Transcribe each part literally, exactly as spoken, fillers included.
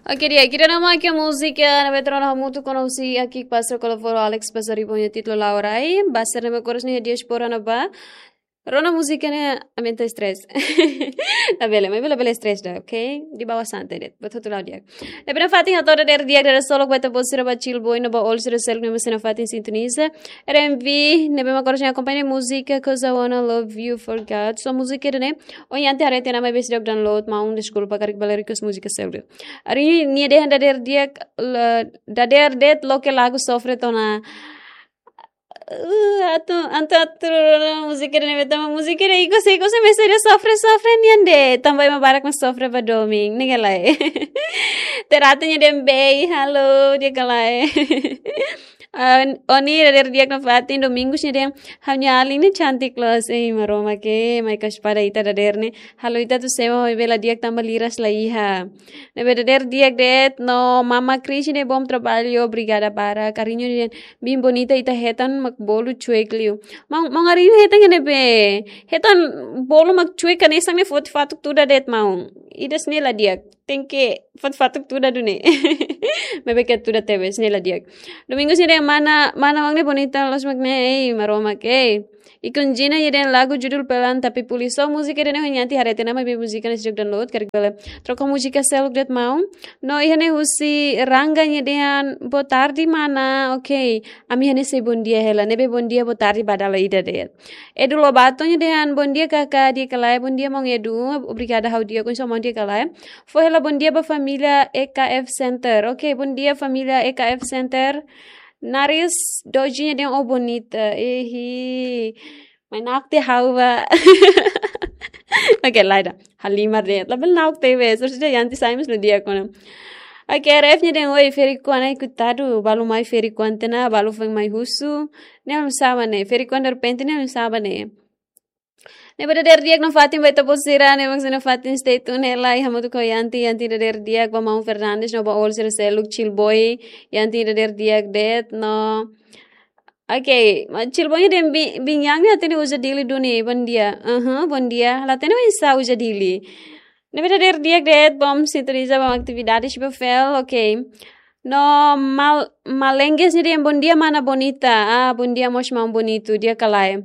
Oke, di'ak, ita-nia mak múzika ne'ebé ita rona hamutuk ona husi Akik Pastor Koloforo Alex Pasaribu nia títulu La'o Rai. Ba sira ne'ebé ko'alia nia diaspora ne'ebá, rona múzika ne'e aumenta stress. Labele, maibé labele stress ida, oke? Di bawah santai de'it, buat hotu la'o di'ak. Ne'ebé nafatin hato'o dadeer di'ak, dadeer solok ba ita-boot sira, ba Chill Boy no ba all sira seluk ne'ebé sei nafatin sintoniza R M V, ne'ebé mak ko'alia akompaña múzika Cause I Wanna Love You For God. So múzika ida-ne'e ohin aat haree tiha ona, maibé seidauk download, maun deskulpa, karik bele request múzika seluk. Ari nia dehan dadeer di'ak, la-, dadeer de'it loke lagu sofre tiha ona. Uh, atu, atu, atu, múzika ida-ne'e, tanba múzika ida-ne'e, iko sei, iko sei mesak ida sofre, sofre nian de'it, tanba ema barak mak sofre ba domin, ne'e ka lae. Terate nia dehan bem, halo, di'ak ka lae. Ah, Oni dadeer di'ak nafatin, Domingos nia dehan, ha'u-nia alin ne'e cantik loos, ei, Maromak, mai kasih pada ita dadeer ne'e, halo ita atu semo, maibé la di'ak tanba liras la iha. Ne'ebé dadeer di'ak de'it, no Mama Cris nia dehan bom trabalho, obrigada barak. Ariño nia dehan, bem bonita, ita hetan mak bolu cuek liu. Maun, maun Ariño hetan iha ne'ebé? Hetan bolu mak cuek hanesan ne'e foti fatuk tuda de'it maun. Ida-ne'e la di'ak. Tenke foti fatuk tuda duni. Maibé ke tuda tebes, ne'e la di'ak. Domingos nia dehan mana, mana maun ne'e bonita loos mak ne'e, ei, Maromak, ei. Ikun Jina nia dehan lagu judul Pelan Tapi Pulih. So múzika ida-ne'e ohin aat haree tiha ona, maibé múzika ne'e seidauk download, karik bele troka múzika seluk de'it maun. No iha ne'e husi Rangga nia dehan, boa tarde, mana. Oke, ami iha ne'e sei bom dia hela, ne'ebé bom dia, boa tarde ba dala ida de'it. Edu Lobato nia dehan, bom dia, Kaka, di'ak ka lae, bom dia, maun Edu, obrigada, ha'u di'ak, oinsá maun, di'ak ka lae. Fó hela bom dia ba família E K F Center. Oke, bom dia, família E K F Center. Naris Doji nia dehan, oh, bonita. Ehi. Mai na'ok tiha ha'u ba. Oke, lae ida. Halimar de'it. Labele na'ok tebes. Harus dia yanti saimis lo dia kona. Oke, R F nia dehan, oi, ferik-oan, ai, koitadu. Balu mai ferik-oan tiha ona, balu foin mai husu. Ne'e ami saba ne'e. Ferik-oan derrepente ne'e ami saba ne'e. Ne'ebé dadeer di'ak nafatin ba ita-boot sira, ne'ebé mak sei nafatin stay tune hela, hamutuk ho yanti, yanti dadeer di'ak ba maun Fernandes, no ba all sira seluk, Chill Boy, yanti dadeer di'ak de'it, no. Oke, maun Chill Boy nia dehan bi-, biin-an ne'e la hatene uza Dili duni, bom dia. Aha, bom dia. La hatene oinsá uza Dili. Ne'ebé dadeer di'ak de'it, bom sintoniza ba atividades ba fel, oke. No Mal-, Malenges nia dehan bom dia mana bonita. Ah, bom dia mós maun bonitu, di'ak ka lae.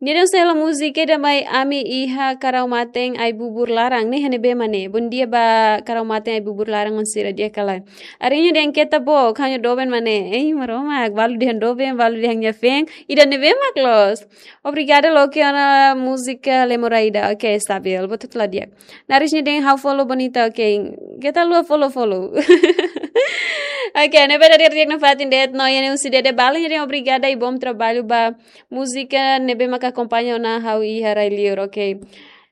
Nia dehan sei hela múzika ida mai Ami Iha Karau Maten Ai-Bubur Laran, ne'e iha ne'ebé mak ne'e? Bom dia ba Karau Maten Ai-Bubur Laran oan sira, di'ak ka lae. Ariño dehan keta book, ha'u-nia doben mak ne'e. Ei, Maromak, balu dehan doben, balu dehan nia feen, ida ne'ebé mak loos. Obrigada loke ona múzika Lemoraida. Oke, stabil, buat hotu la di'ak. Naris nia dehan ha'u follow bonita, oke. Keta haluha follow, follow. Oke, ne'ebé dadeer di'ak nafatin de'it, no iha ne'e husi Dede Bala nia dehan obrigada i bom trabalho ba múzika ne'ebé maka akompaña ona ha'u iha rai-liur, oke.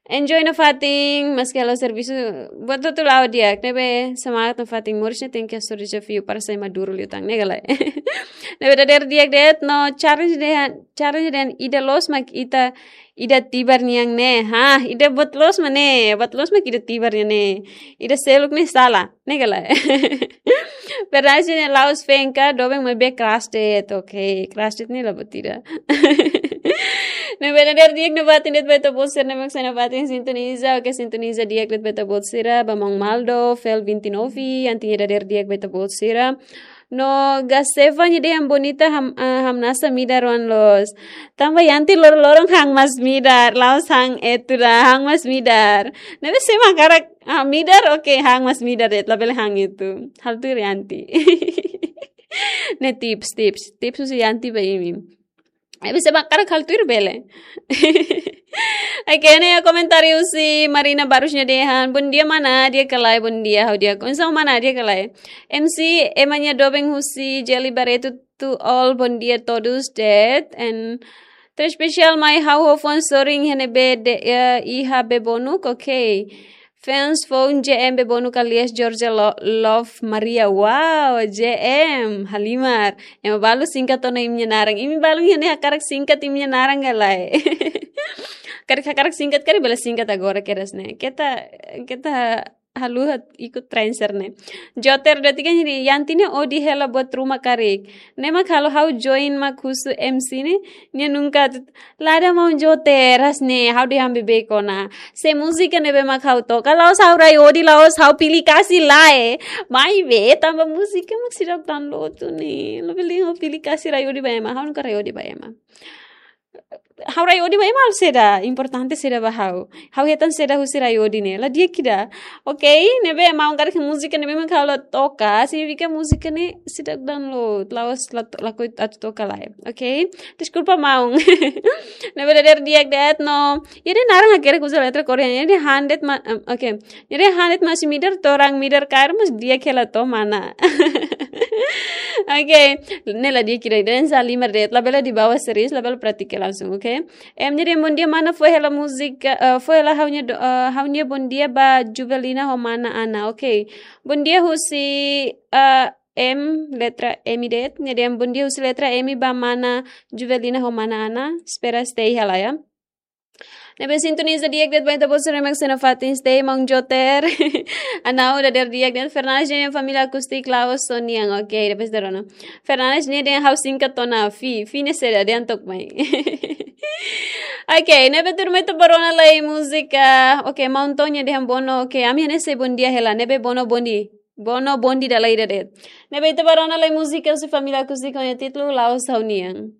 Enjoy nafatin, maski halo servisu, buat hotu la'o di'ak, ne'ebé semangat nafatin, moris ne'e tenke hasoru dezafiu para sai maduru liután, ne'e ka lae. Ne'ebé dadeer di'ak de'it, no Charles dehan, Charles dehan ida loos mak ita, ida tibar nian ne'e. Ha, ida buat loos mak ne'e, buat loos mak ida tibar nian ne'e. Ida seluk ne'e sala, ne'e ka lae. Verdade ne'e la'ós feen ka, doben maibé crush de'it, oke. Crush de'it ne'e la buat ida. Ne'ebé dadeer di'ak nafatin de'it ba ita-boot sira ne'ebé mak sei nafatin sintoniza, oke, sintoniza di'ak de'it ba ita-boot sira, ba maun Maldo, Fel vinte e nove, yanti nia dadeer di'ak ba ita-boot sira. No Gaseva nia dehan bonita ham-, ah, hamnasa midar oan loos. Tanba yanti loron-loron han mas midar, la'ós han etu ida, han mas midar. Ne'ebé se ema hakarak, ah, midar, oke, han mas midar de'it, labele han etu. Halo tuir yanti. Ne'e tips, tips, tips husi yanti ba imi. Eh, bisa bakar halo tuir bele. Oke, ne'e komentáriu husi Marina Barros nia dehan, bom dia mana, di'ak ka lae, bom dia, ha'u di'ak, oinsá mana, di'ak ka lae. M C, ema nia doben husi Jeli Barreto, to all, bom dia todos de'it, and tau espesiál mai ha'u ho fans sorin iha ne'ebé de'it, eh, iha Bebonuk, oke. Fans foun J M Bebonuk alias Georgia Lo-, Love Maria. Wow, J M, halimar. Ema balu singkat ona imi-nia naran. Imi balu iha ne'e hakarak singkat imi-nia naran ka lae? Karik hakarak singkat, karik bele singkat agora kedas ne'e. Keta, keta haluha ikus transfer ne'e. Joter de'it kan hiri Yanti ne'e odi hela buat ruma karik. Ne'e mak halo ha'u join mak husu M C ne'e, nia nunka atu, lada maun Joter, hanesan ne'e, ha'u dehan beibeik ona. Se múzika ne'ebé mak ha'u toka, la'ós ha'u rai odi, la'ós ha'u pilih kasih lae. Maibé, tanba múzika mak seidauk download duni. Labele ha'u pilih kasih rai odi ba ema, ha'u nunka rai odi ba ema. Ha'u rai odi ba ema halo saida, importante saida ba ha'u. Ha'u hetan saida husi rai odi ne'e, la di'ak ida. Oke, ne'ebé maun karik múzika ne'ebé mak ha'u la toka, signifika múzika ne'e seidauk download, la'ós la to-, lakohi atu toka lae. Oke, deskulpa maun. Ne'ebé dadeer di'ak de'it no. Ida-ne'e naran hakerek uza letra Koreana, ida-ne'e han de'it ma-, em, oke. Ida-ne'e han de'it mós midar, to'o raan midar kaer mós di'ak hela to'o mana. Oke, ne'e la di'ak ida, ida-ne'e halimar de'it, labele dibawa serius, labele pratika langsung, oke? Em, nia dehan bom dia mana, fó hela múzika, eh, fó hela ha'u-nia do-, eh, ha'u-nia bom dia ba Juvelina ho mana Ana, oke? Bom dia husi, eh, M, letra M de'it, nia dehan bom dia husi letra M ba mana Juvelina ho mana Ana, espera stay hela ya. Ne'ebé sintoniza di'ak de'it ba ita-boot sira mak sei nafatin, stay maun Joter. Anau dadeer di'ak de'it, Fernandes nia família Akustik Laos só nian, oke, depois da rona. Fernandes nia dehan ha'u singkat ona, Fi, Fi ne'e saida, dehan took mai. Oke, ne'ebé tuirmai ita bá rona lai múzika. Oke, maun Tonya dehan bono, oke, ami hanesan bom dia hela, ne'ebé bono bom dia. Bono bom dia dala ida de'it. Ne'ebé ita bá rona lai múzika husi família Akustik ho nia títulu Laos ha'u-nian.